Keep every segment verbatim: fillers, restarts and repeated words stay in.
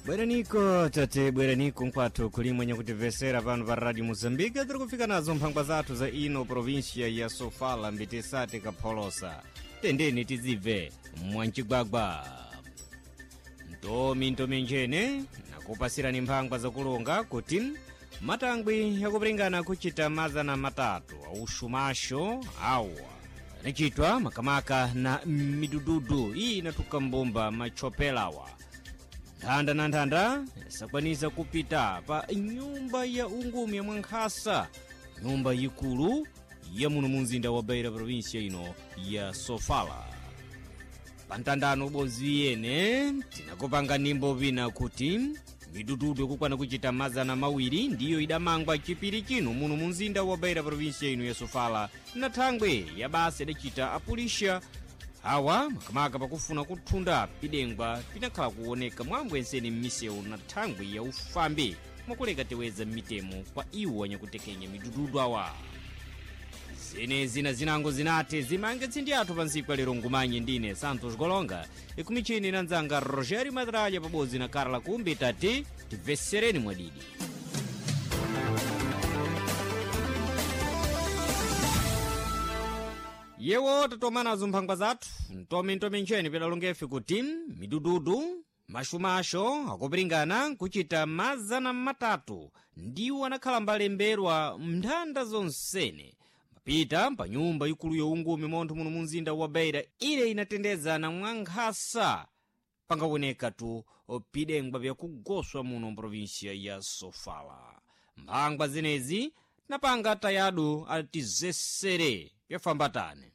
Bweraniko tate, bweraniko nkwathu kulimwe nyakutimvesera pano pa Radio Mozambique. Tiri kufika nazo mphangwa zathu za ino provincia ya Sofala, mbitisati kapholosa. Tendeni tizibve mwancigwagwa ntomi ntomi njene nakupasirani mphangwa zakulunga kuti matangwi yakupiringana kuchita mazana matatu aushumasho awa anachitwa makamaka na midududu iyi inatuka mbumba machopelawa nthanda na nthanda sakwanisa kupita pa nyumba ya ungumi ya mwankhasa, nyumba yikulu ya muno mu mzinda wa Beira, provinsia ino ya Sofala. Pantandano ubodzi yene tinakupanga nimbo vina kuti midududu ikukwana kuchita mazana mawiri ndiyo idamangwa chipiri chino muno mu mzinda wa Beira, provinsia ino ya Sofala, na thangwe ya basa idachita apulisha awa makamaka pakufuna kuthunda pidengwa pinakhala kuoneka mwambwenseni m'misewu na thangwi ya ufambi mwakuleka teweza m'mitemo kwa iwo anyakutekenya midududu awa. Zenezi na zinango zinati zimange tsindi athu pa ntsiku lero. Ngumanye ndine Santos Golonga, ikumichini na nzanga Rogério Madralha pabodzi na Carla Kumbi. Tati tibvesereni mwadidi. Yewo tatomanazo mphangwa zathu ntomi ncheni pedalongefe kuti midududu mashumasho akupiringana kuchita mazana matatu ndiwo anakhala mbalemberwa mnthanda zonsene mapita pa nyumba ikulu youngumi montho muno mu mzinda wa Beira. Ile inatendezana mwankhasa pangaoneka tu pidengwa vyakugoswa muno mprovinsia ya Sofala. Mphangwa zenezi tinapanga tayadu atizesere vyafambatane.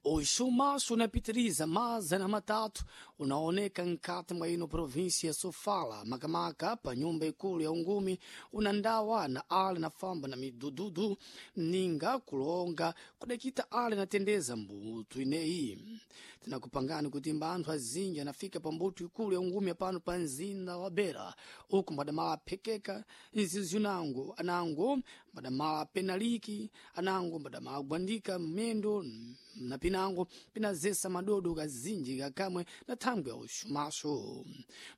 Oxumaxo unapitiriza mazana matatu unaoneka nkati mwa ino província ya Sofala, makamaka pa nyumba ikulu ya ungumi unandawa na ale na famba na midududu ninga kulonga kudakita ale natendeza mbutu ineyi. Tinakupangani kuti mbanthu azinji anafika pa mbutu ikulu ya ungumi apano pa mzinda wa Beira, uku mbadamala aphekeka nzizi anango anango mbadamala penaliki anango mbadamala agwandika mmendo na pinango pinazesa madodo kazinji kakamwe na thangwi ya uxumaxo.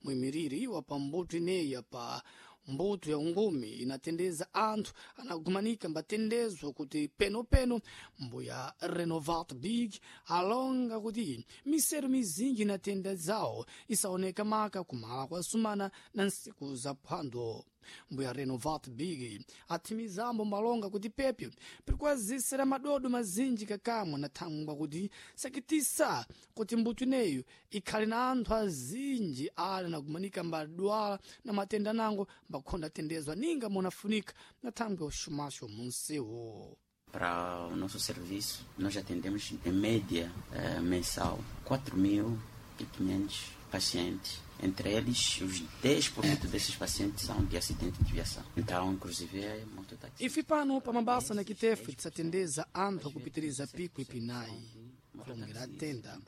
Muimiriri wa pambuto ineyi pa mbuto ya ungumi inatendeza anthu anagumanika mbatendezwa kuti penopeno mbuya Renovat Big alonga kuti miseru mizinji inatenda zawo isaoneka maka kumala kwa sumana na nsiku za phwando. Mbuya Renovat Big athimizambo malonga kuti pepyo pirikwazisira madodo mazinji kakamwe na thangwa kuti sakitisa kuti mbuto ineyo ikhale na anthu azinji ali nagumanika mbadwala na matenda nango mbakhonda atendezwa ninga munafunika na thangwi ya uxumaxo munsewu. Para o nosso serviço, nós atendemos em média eh, mensal quatro mil e quinhentos pacientes. Entre eles, os dez por cento desses pacientes são de acidente de viação. Então, inclusive, é mototáxi. Ife pano pa mabasa na kitefe tisatendeza anthu akupitiriza pico ipinayi kulongera tenda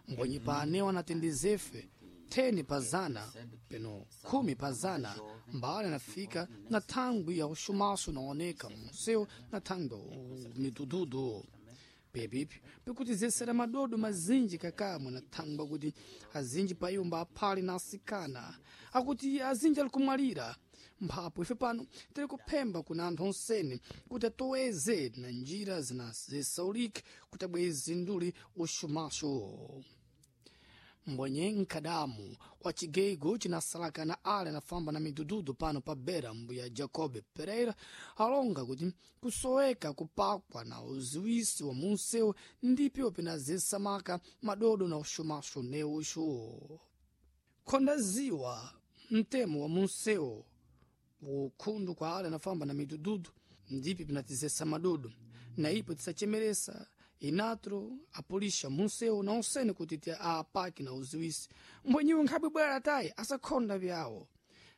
mbonyi pa anewo anatendezefe theni pa zana peno khumi pa zana mbale anafika na thangwi ya uxumaxo unaoneka munsewu na thangwi ya midududu. Pepipi pikutizesera madodo mazinji kakamwe na thangwa kuti azinji pa iwo mbaphali na asikana akuti azinji ali kumwalira. Mphapo ife pano tiri kuphemba kuna anthu onsene kuti atoweze na njira zinazesaulike kuti abweze nduli uxumaxo. Mbonye nkadamu wa chigeigo chinasalakana ale anafamba na midududu pano pa Beira, mbuya Jacob Pereira alonga kuti kusoweka kupakwa na uziwisi wa munsewu ndipyo pinazesamaka madodo na uxumaxo neuxo. Khonda ziwa mtemo wa munsewu ukhundu kwa ale anafamba na midududu ndipi pinatizesa madodo na ipo tisachemeresa inatro apulisha munsewu na onsene kuti ti aapaki na uziwisi mbwenyiwe nkhabwe bwera tayi asakhonda vyawo.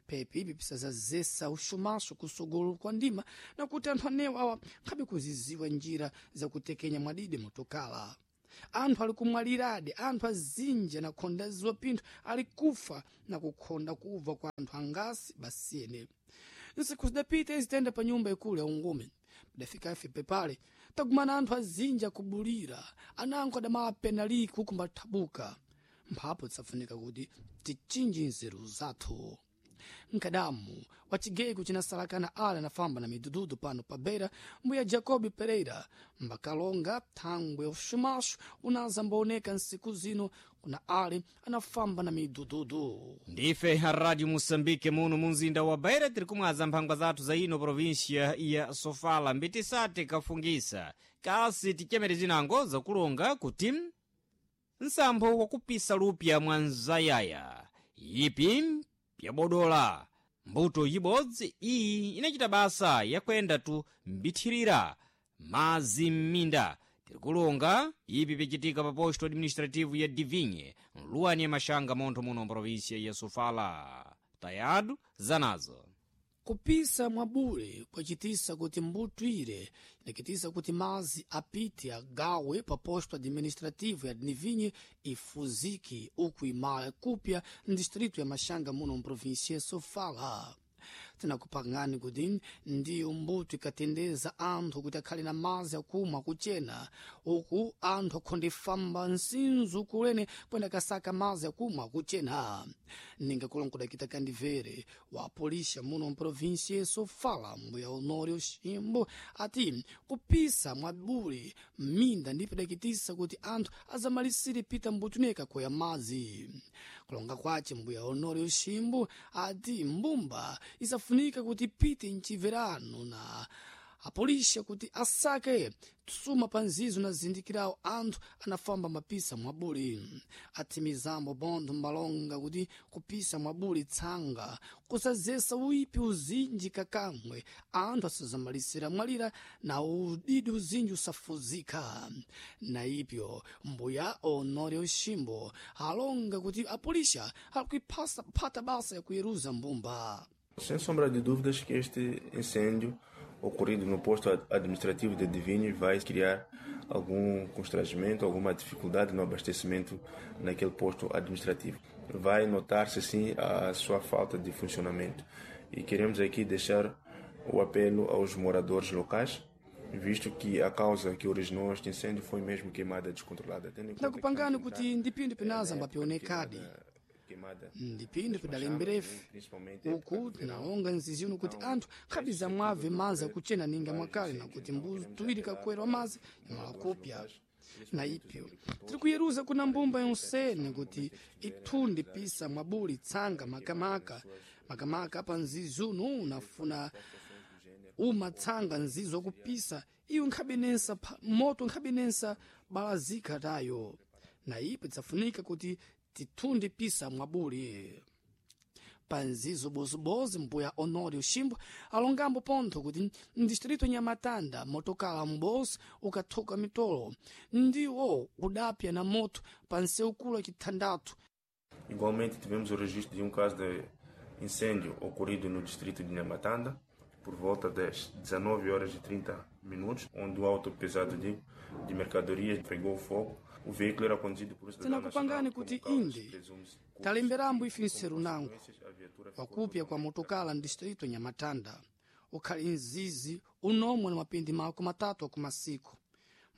Pepi ipi pisazazesa uxumaxo kusogolo kwa ndima na kuti anthu anewo awa nkhabe kuziziwa njira zakutekenya mwadidi motokala. Anthu ali kumwaliradi, anthu azinji anakhonda ziwa pinthu ali kufa na kukhonda kubva kwa anthu angasi basiyene. Nsiku zidapita izitenda pa nyumba ikulu ya ungumi padafika ife pepale tagumana anthu azinji akubulira anango adamala penaliki huku mbathabuka. Mphapo tisafunika kuti tichinji nzeru zathu. Nkadamu wa chigego chinasalakana ale anafamba na midududu pano pa Beira, mbuya Jacob Pereira mbakalonga thangwe uxumaxo unaza mbaoneka nsiku zino kuna ale anafamba na midududu. Ndife a Radio Moçambique muno mu mzinda wa Beira tiri kumwaza mphangwa zathu za ino província ya Sofala mbitisati kafungisa kasi tichemere zinango zakulonga kuti nsampho wakupisa lupya mwa nzayaya ipi pyabodola mbuto ibodzi iyi inachita basa yakwenda tu mbithirira mazi m'minda. Tirikulonga ipi pyacitika pa posto administrativo ya Divinhe nluwani ya Maxanga montho muno mprovíncia ya Sofala. Tayado zanazo Kupisa mwabule kwacitisa kuti mbuto ire inakitisa kuti mazi apite agawe pa posto administrativo ya Dnivinhe ifuziki uku imala kupya ndistrito ya Maxanga muno mprovíncia ya Sofala. Tinakupangani kuti ndiyo mbuto ikatendeza anthu kuti akhale na mazi akumwa kuchena uku anthu akhondifamba nsinzu kulene kwenda kasaka mazi akumwa kuchena. Ninga kulongola kita kandivere wa polisha muno mprovíncia ya Sofala mbuya Honório Ximbo ati kupisa mwabule minda ndipo idakitisa kuti anthu azamalisire pita mbuto neka koya mazi. Kulonga kwace mbuya Honório Ximbo ati mbumba isafunika kuti pite mchiverano na apolisha kuti asake tsuma pa nzizo na zindikirawo anthu anafamba mapisa mwabuli. Atimizambo bontho mbalonga kuti kupisa mwabuli tsanga kusazesa uipi uzinji kakamwe anthu asazamalisira mwalira na udidi uzinji usafuzika. Na ipyo mbuya Honório Ximbo alonga kuti apolisha akuiphasa phata basa yakuyeruza mbumba. Sem sombra de dúvidas que este incêndio ocorrido no posto administrativo de Divinho vai criar algum constrangimento, alguma dificuldade no abastecimento naquele posto administrativo. Vai notar-se sim a sua falta de funcionamento. E queremos aqui deixar o apelo aos moradores locais, visto que a causa que originou este incêndio foi mesmo queimada descontrolada. Tendo em conta que Nakupangani estamos a kuti entrar ndipindu pinaza na época de mbapionekadi queimada- queimada ndipindu pidalemberefe principalmente época uku do verão. tinalonga nziziuno kuti anthu khabiza mwave mazi akuchena ninga mwakale nakuti mbuzi tuwiri kakwera mazi yamala kupya. Na ipyo tiri kuyeruza kuna mbumba yonsene kuti ithundi pisa mwabuli tsanga makamaka makamaka pa nzizi uno unafuna umatsanga nzizo kupisa iyo nkhabenensa pha- moto nkhabenensa balazika tayo. Na ipo idzafunika kuti tithunde pisa mwabuli panzizo bozibozi. Mbuya Honório Ximbo alongambo pontho kuti mdistrito Nyamatanda motokala m'bosi ukathuka mitolo ndiwo udapya na moto pa nseukulu chithandathu. Igualmente, tivemos o registro de um caso de incêndio ocorrido no distrito de Nhamatanda, por volta das dezenove horas e trinta minutos, onde o auto pesado de, de mercadorias pegou fogo. O veículo era conduzido por um cidadão Tinakupangani nacional, kuti como causa, inde presume-se, talemberambo ife como nseru nango consequências, a viatura ficou wakupya kwa totalmente motokala mdistrito Nyamatanda ukhali mzizi unomwe na mapindi mako matatu akumasiku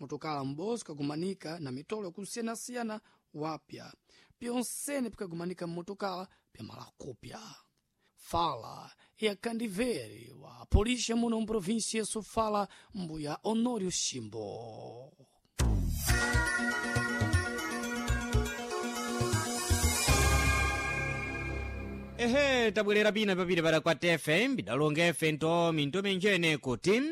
motokala m'bozi kagumanika na mitolo yakusiyanasiyana wapya pyonsene pikagumanika mmotokala pyamala kupya. Fala yakandivere wa polisha muno mprovíncia ya Sofala mbuya Honório Ximbo. Ehe, tabwerera pina papita pada kwa tefe mbidalonga efe nto minto minjene kuti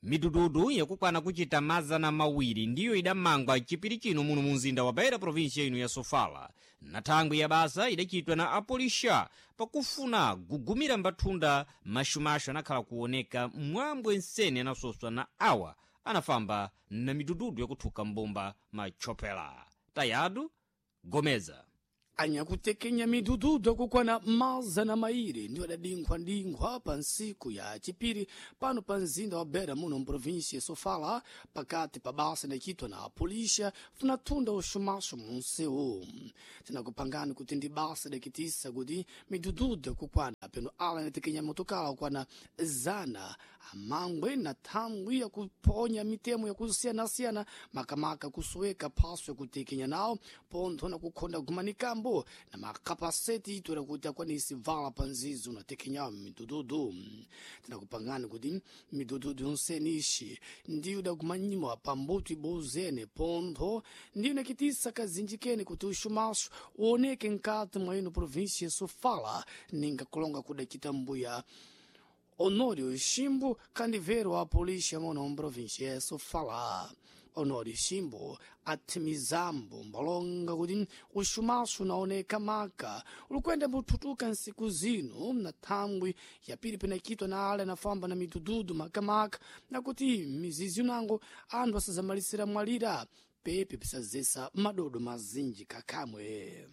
midududu yakukwana kuchita mazana mawiri ndiyo idamangwa chipiri chino muno mu mzinda wa Beira província ino ya Sofala na thangwi ya basa idachitwa na apolisha pakufuna gugumira mbathunda maxumaxu anakhala kuoneka mwambwe nsene anasoswa na awa anafamba na midududu yakuthuka mbumba machopela. Tayadu Gomeza Anyakutekenya midududu akukwana mazana mairi ndiwo adadinkhwadinkhwa pa ntsiku ya chipiri pano pa mzinda wa Beira muno mprovíncia ya Sofala pakati pa basa idacitwa na apolisha funa thunda uxumaxo munsewu. Tinakupangani kuti ndi basa idakitisa kuti midududu akukwana peno ala inatekenya motokala akukwana zana Amangwe na thangwi yakuponya mitemo yakusiyanasiyana, makamaka kusoweka phaso yakutekenya nawo pontho na kukhonda gumanikambo na makapaseti itwera kuti akwanisi vala pa nzizo unatekenyawo midududu. Tinakupangani kuti midududu yonsene ixi ndiyo idagumanyiwa pa mbuto ibozene, pontho ndiyo inakitisa kazinji kene kuti uxumaxo uoneke nkati mwa ino província ya Sofala, ninga kulonga kudacita mbuya Honório Chimbo, candiveiro a polícia muno província ya Sofala. Honório Chimbo atimizambo mbalonga kuti uxumaxo unaoneka maka ulikwenda mbuthutuka nsiku zino na thangwi yapiri penakitwa na ale anafamba na midududu makamaka, nakuti mizizi unango anthu asazamalisira mwalira pepe pisazesa madodo mazinji kakamwe.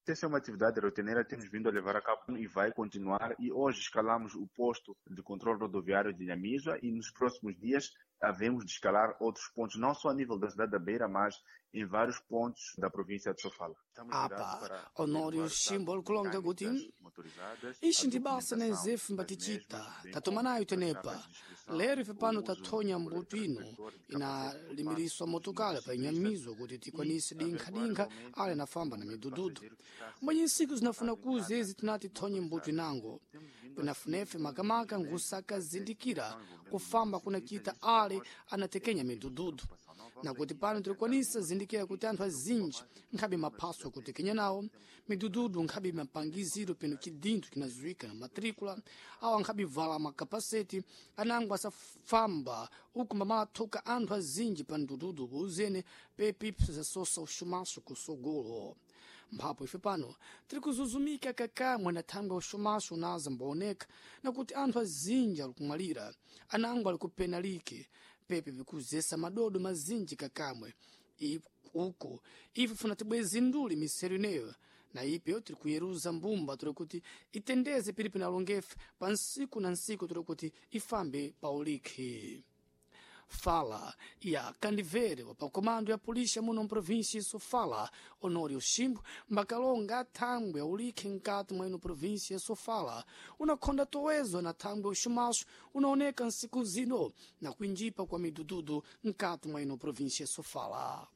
Essa é uma atividade rotineira que temos vindo a levar a cabo e vai continuar. E hoje escalamos o posto de controle rodoviário de Inhamizua e nos próximos dias havemos de escalar outros pontos, não só a nível da cidade da Beira, mas em vários pontos da província de Sofala. Apa Honório Chimbo kulonga kuti ixi ndi basa na ezefu mbatichita tatoma nayo tenepa lero ife pano tathonya mbuto ino inalimiriswa motokala pa Inhamizua kuti tikwanise dinkhadinkha ale anafamba na midududu. Mwenye nsiku zinafuna kuza ezi tinati thonye mbuto inango pinafunefe makamaka ngusakazindikira kufamba kunakita ale anatekenya midududu, nakuti pano tilikwanisa zindikira kuti anthu azinji nkhabe maphaso akutekenya nawo midududu, nkhabe mapangiziro peno chidinthu chinaziwika na matricula awo, nkhabe vala makapaseti anango asafamba uku mbamathuka anthu azinji pa mdududu uzene pepi zasosa uxumaxo kusogolo. Mphapo ife pano tiri kuzuzumika kakamwe na thangwi uxumaxo unaza mbaoneka, nakuti anthu azinji ali kumwalira anango ali kupenalike pepe vikuzesa madodo mazinji kakamwe uko ife funa tibwezi nduli misero ineyo, na ipeyo tiri kuyeruza mbumba tiri kuti itendeze pili pinalongefe pa nsiku na nsiku tiri kuti ifambe pa ulikhi. Fala ya kandivere wa pakomando ya polícia muno mprovíncia Sofala, Honório Chimbo, mbakalonga athangwe aulikhe nkati mwa ino província Sofala unakhonda towezo na thangwe uxumaxo unaoneka nsiku zino na kuinjipa kwa midududu nkati mwa ino província Sofala.